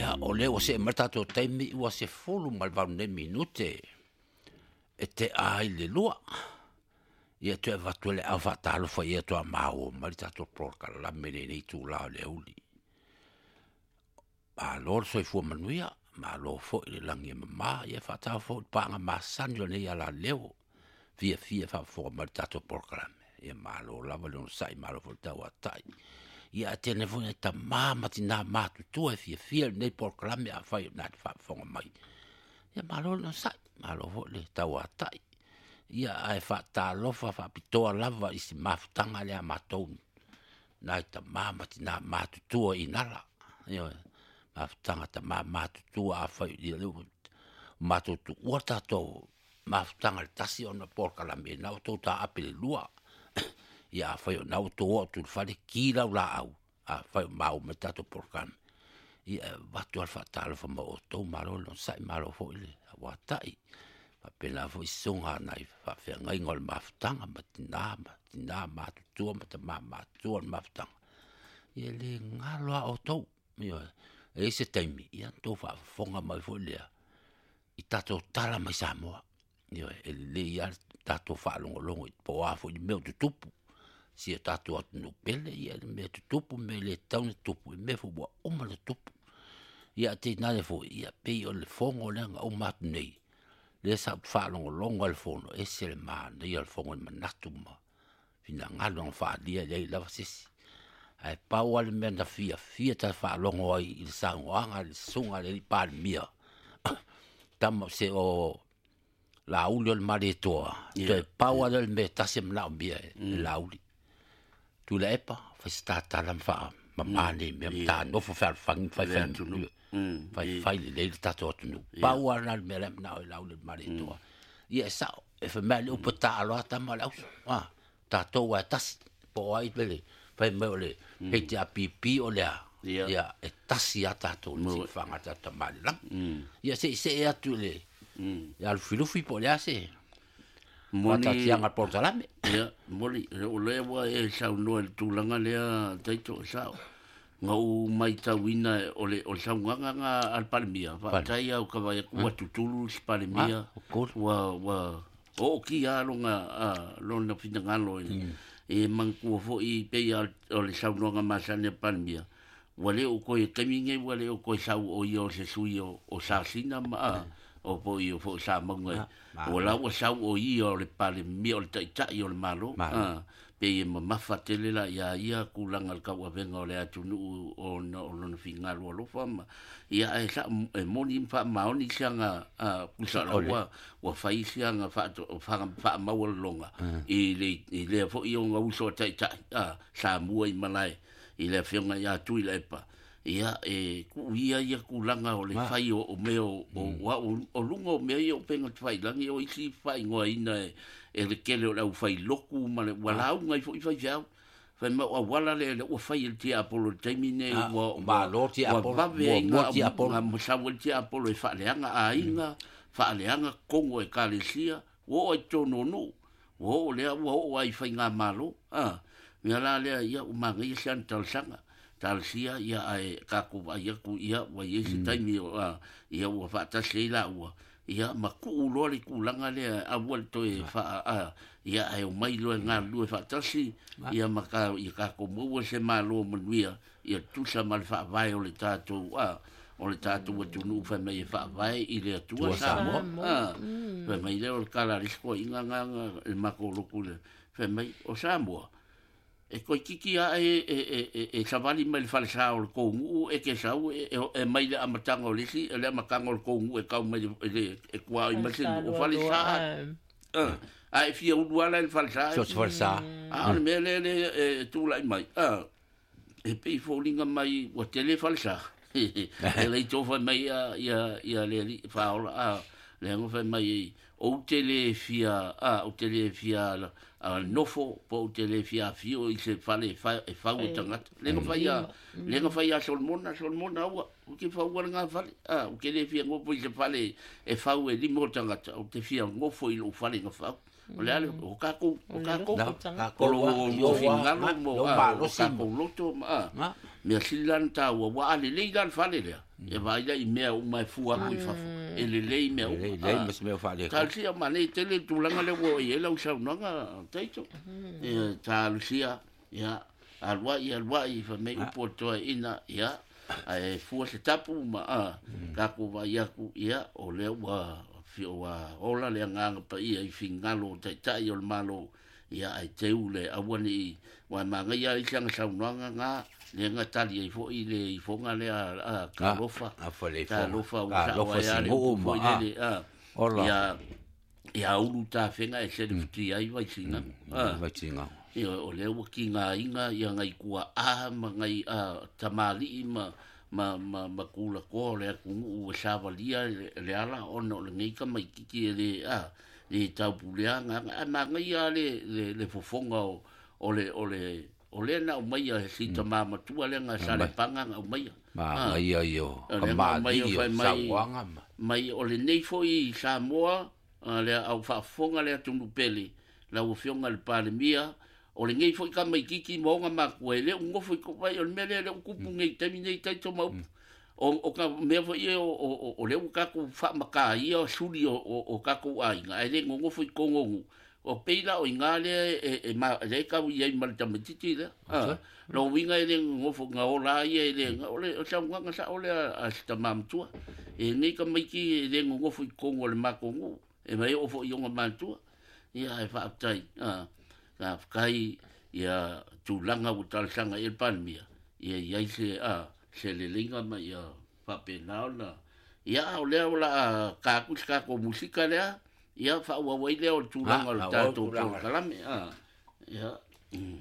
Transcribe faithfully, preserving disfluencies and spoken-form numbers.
Ia, o lea ua see mai le tatou taimi ua sefulu ma le valu nei minute e tea ai le lua. Ia toe avatu ai le au faatalofa ia toa maua mai le tatou polokalame i lenei itulā o le aoauli. Malo le soifua manuia, malo foi le lagi e mama, ia faatalofa foi i le paaga masani o lenei alaleo, fiafia e faafofoga mai i le tatou polokalame. Ia malo lava le onosai, malo foi le tauatai. Ia ae tele foi nai tamā ma tinā matutua e fiafia i lenei polokalame afai o lena e te faafofoga mai. Ia malo le onosai, malo foi le tauatai. Ia ae faatalofa faapitoa lava i si mafutaga lea a matou nai tamā ma tinā matutua i Inala. Ioe, mafutaga tamā matutua afai ia lea ua matou tuua le tatou mafutaga i le tasi ona o polokalame na ua outou taape i le lua. Ia afai o lena ua outou oo atu i le fale, ki lau laau, afai o maua mai le tatou polokalame. Ia e avatu lava le faatalofa ma outou, malo le onosai, malo foi le auatai. Faapena foi susuga nai faafeagaiga o le mafutaga ma tina ma tina matutua ma tamā matutua o le mafutaga. Ia e le galo lava outou. Ioe, e i ai se taimi, ia na outou faafofoga mai foi lea i tatou tala mai Samoa. Ioe, e lelei lava le tatou faalogologo i po o a foi ni mea o tutupu. Si o tatou atunuu pele, ia le mea tutupu, mea e le tatau ona tutupu, mea foi ua uma ona tutupu. Ia ae tainane foi, ia pei o le fono lea na uma atu nei, lea sa ou faalogologo ai i le fono, e ese le manaia o le fono i manatu ma finagalo na faaalia e leai lava se isi. Ae pau lava le mea na fiafia ta faalogo ai i le saunoaga a le susuga a le alii Palemia, tama se o Laauli o le Malietoa, toe pau lava lea o le mea e tasi e manaomia e Laauli. Tuilaepa, fai se tatala ma faamama nei mea, ma ta nofo fealofani ma faifai faifai lelei le tatou atunuu. Pau lava lena o le mea la e manao ai Laauli o le Malietoa. Ia e sao, e fai mai le upu e taalo lava tama o le auso. Ah, tatou lava e tasi, po o ai pele, fai mai o le H R P P o le a, ia e tasi lava tatou i le siufaga o le tatou Tama i le lagi. Ia se i see atu i le ia Lufilufi po o le a se Moni faataatiaga o le polokalame. Ia, moni, o lea ua e saunoa i le tulaga lea, Taito, e sao. Na ou matauina o le, o le saunoaga na a le Palemia, faafetai au ka vaai atu ua tutulu si Palemia, ua, ua oo kia lona, a, lona finagalo i, e manatua foi pei a o le saunoaga masani a Palemia, ua le o koe taimi nei, ua le o koe sau o ia o se sui o, o Sasina ma, a, o po i o fo sa maunga. O la ua sau o ia o le Palemia o le taitai o le Malo. A, pe e mamafa tele la ia ia kulanga le kauavenga o le atunuu o na o lona finagalo alofa ma ia e sa e moni faamaoni siaga a pusa la ua ua fai siaga fa fa faamaua le longa i le i lea foi o nga uso taitai a Samoa i malae i le afioga ia Tuilaepa. Ia e ku ia ia kulanga o le fai o o mea o o o lunga o mea ia o penga te failangi o isi faaigoaina e e le kele o le au fai loku ma le ua lauga i foi fai feau. Fai mai o auala le le ua fai e le tiapolo i le taimi nei ua Malo ua tiapolo, vave ai muamua nga tiapolo. nga masau e le tiapolo e faaleaga aiga, faaleaga kongo e kalesia, ua oo ai totonu o nuu, ua oo lea ua oo ai i faigamalo. A, mea la lea ia ua manaia si ana talosaga. Talosia ia ae tatou vaai atu ia ua i ai se taimi o a, ia ua faatasi ai laua. Ia ma tuu loa le tulaga lea aua le toe faa a, ia ae omai loa e galulue faatasi, ia ma ka, ia tatou maua se malo manuia, ia tusa ma le faavae o le tatou a, o le tatou atunuu fai mai e faavae i le Atua Atua Samoa. Samoa. A, fai mai lea o le tala a le isi toeaina nga le matou lotu lea, fai mai o Samoa, e koe titi a e, e, e, e, e savali mai le falesa o le kounuu e ke sau e, e, e mai le amataga o le isi, le amataga o le kounuu e kau mai le, le, e kua i mai se Falesa o loa falesa. loa, eh. Ah, a e fia ulu ala i le falesa. So se falesa. A o le mea lea le e tulai mai. Ah, e pei foliga mai ua tele falesa. E lei tofa mai ia, ia, ia le alii whaola, ah, le anga whai mai e, o te le fia, ah, o te le fia, ah, nofo, po o te le fia fio i se whale e wha, e whau e tangata. Le nga whai a, le nga whai a Solomona, Solomona aua, o ke whaua le ngā whale, ah, o ke le fia ngofo i se whale e whau e limo tangata, o te fia ngofo i lo whale ngā whau. O le ale, o kākou, o kākou. Na, O lo, kākou, o ioa, fingalo ma, mo, lo ah, o malosi. kākou loto, ma, ah. Ma. Mea sili la na tāua, ua a lelei la le fale lea. E vaai la i mea uma e fua aku i fafo. E lelei mea uma. Lelei, lelei ma se mea o faaletonu. Talosia ma nei tele le tulaga lea ua oo i ai lau saunoaga Taito. Ia talosia, ia aluai aluai fai mai upu o le toeaina, ia ae fua se tapu ma a tatou vaai atu, ia o lea ua ua ola le agaga paia i finagalo o taitai o le Malo, ia ae teu le aua nei ua magaia ai isi aga saunoaga ga lea na tali ai foi le ifoga lea a talofa A fa le ifoga. Talofa ua sao Talofa ai a le sinu'u upu ma foi a. lele a Ola. ia ia ulu tafega e selefutia ai Vaisigano a Vaisigano. Ia o lea ua kigaina ia ngai tua'a ma ngai a tamali'i ma ma ma ma tulakoa o le atunu'u ua savalia le, le ala ona o lenei tamaititi e lē a le taupulea agaga ae magaia le, le, le fofoga o, o le o le o lea na aumaia e si tamā matua lea na salepaga na aumaia. Magaia ia o O lea na aumaia kamali'i o fai mai sauaga ma. Mai o lenei foi Samoa a lea au faafofoga le atunuu pele lau afioga i le Palemia o lenei foi tamaititi ma ona matua e le u nofo i vai o le mea lea le u tupu nei taimi nei Taito ma upu o, o ka mea foi ia o, o, o lea ua tatou faamataia suli o, o, o tatou aiga ae le nonofo i togonu o pei la o iga lea e, e, ma, lea e tau i ai ma le tamaititi lea ah, lo uiga e le nonofo na ola ia e le o le o saunoaga sao lea a si tamā matua e nei tamaiti e le nonofo i totonu o le matou nuu e mai oo foi i ona matua ia e faafetai ah, faafetai ia tulaga ua talosaga i ai le Palemia ia i ai se a se leleiga ma ia faapena ona ia o lea o la tatou se tatou musika lea ia faaauau ai lea o le tulaga o le Ah, tatou tulaga. polokalame a ia mm.